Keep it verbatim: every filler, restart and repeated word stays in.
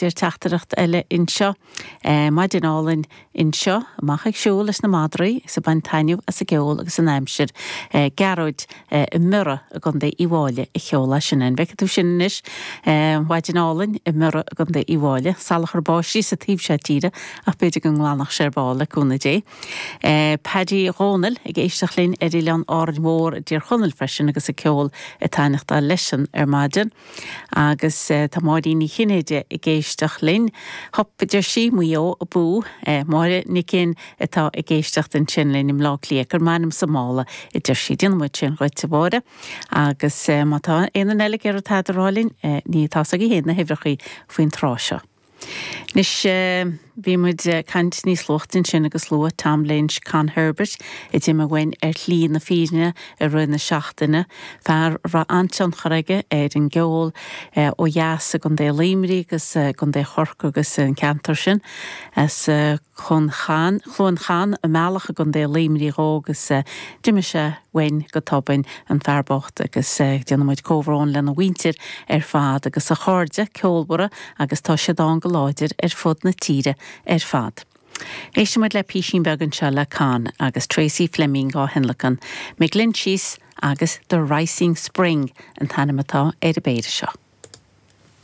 Deir teachtaireacht eile anseo. Maidin álainn anseo, amach ag siúl leis na madraí is ag baint taitneamh as an gceol agus an aimsir. Gearóid i mBiorra i gContae Uíbh Fhailí a sheol é sin. An bhfeiceann tú sin anois? Maidin álainn i mBiorra i gContae Uíbh Fhailí. Salachar báistí sa taobh seo tíre ach b'fhéidir go nglanfadh sé ar ball le cúnamh Dé. Paddy Dhónaill ag éisteacht linn ar Oileán Árainn Mhór i dTír Chonaill freisin agus an ceol ag taitneachtáil leisean ar maidin. Agus tá Máirín Ní Chinnéide ag éisteacht linn. Hup, a deir sí, Maigh Eo abú. Máire Nic Fhinn atá ag éisteacht ansin linn i mBleá Cliath. Cuir m'ainm sa mála, a deir sí. Déanfaidh muid sin dhuit, a Mháire. Agus má tá aon duine eile ag iarraidh tada a rá linn, ní tá 's agaibh féin na huimhreachaí faoin tráth seo. Anois, bhí muid ag caint níos luaithe ansin agus luadh Tom Lynch, Con Herbert, a d'imigh uainn ar shlí na fírinne i rith na seachtaine, fear a raibh an-tionchar aige ar an gceol ó dheas i gContae Luimnigh agus i gContae Chorcaí agus an ceantar sin. As Cluain Chairn, Cluain Chairn i mBealach i gContae Luimnigh dhó agus d'imigh sé uainn go tobann, an fear bocht, agus déanann muid comhbhrón lena mhuintir ar fad agus a chairde ceolmhara agus tá siad ann go láidir ar fud na tíre ar fad. Éistfidh muid le písín beag anseo le Con agus Tracy Fleming á thionlacan, McGlinchey's agus The Rising Spring an t-ainm atá ar an bpéire seo.